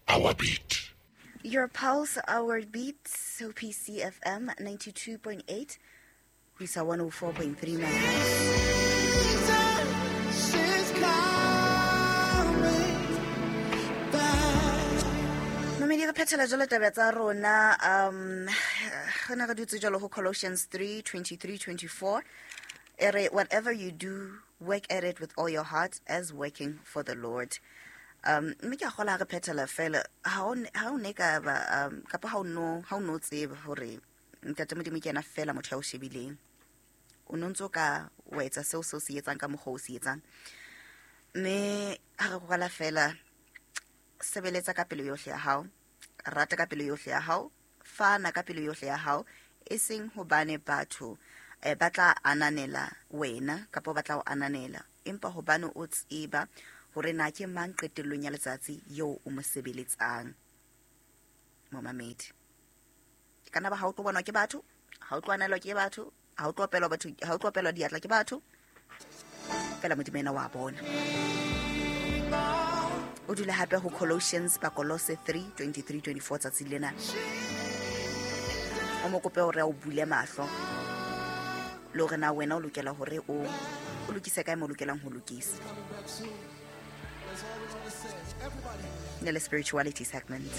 our beat. Your pulse, our beat, so PCFM 92.8, ho isa 104.3 megahertz. Mamedi, re phethela jalo taba tsa rona. Re ne re dutse jalo ho Colossians 3 23 24. E re, "Whatever you do, work at it with all your heart as working for the Lord." Mme ke a kgola ha re phethela fela, ha o ne ka ba kapa ha o no tseba hore Ntate Modimo ke yena fela motho ya o shebileng, o no ntso ka wa etsa seo se o se etsang ka mokgwa o se etsang. Mme ha re kwala fela, sebeletsa ka pelo yohle ya hao, rata ka pelo yohle ya hao, fana ka pelo yohle ya hao, e seng hobane batho ba tla ananela wena kapa ba tla o ananela, empa hobane o tseba hore na ke mang qetellong ya letsatsi eo o mo sebeletsang. Momamedi, kana ba ha o tlo bonwa ke batho, ha o tlo anelwa ke batho, ha o tlo opelwa batho, ha o tlo opelwa diatla ke batho, fela Modimo ena wa bona. O dula hape ho Colossians, Bakolose 3 23 24. Tsatsi lena o mo kope hore a o bule mahlo le hore na wena o lokela hore o lokise kae mo lokelang ho lokisa. Ne le spirituality segment.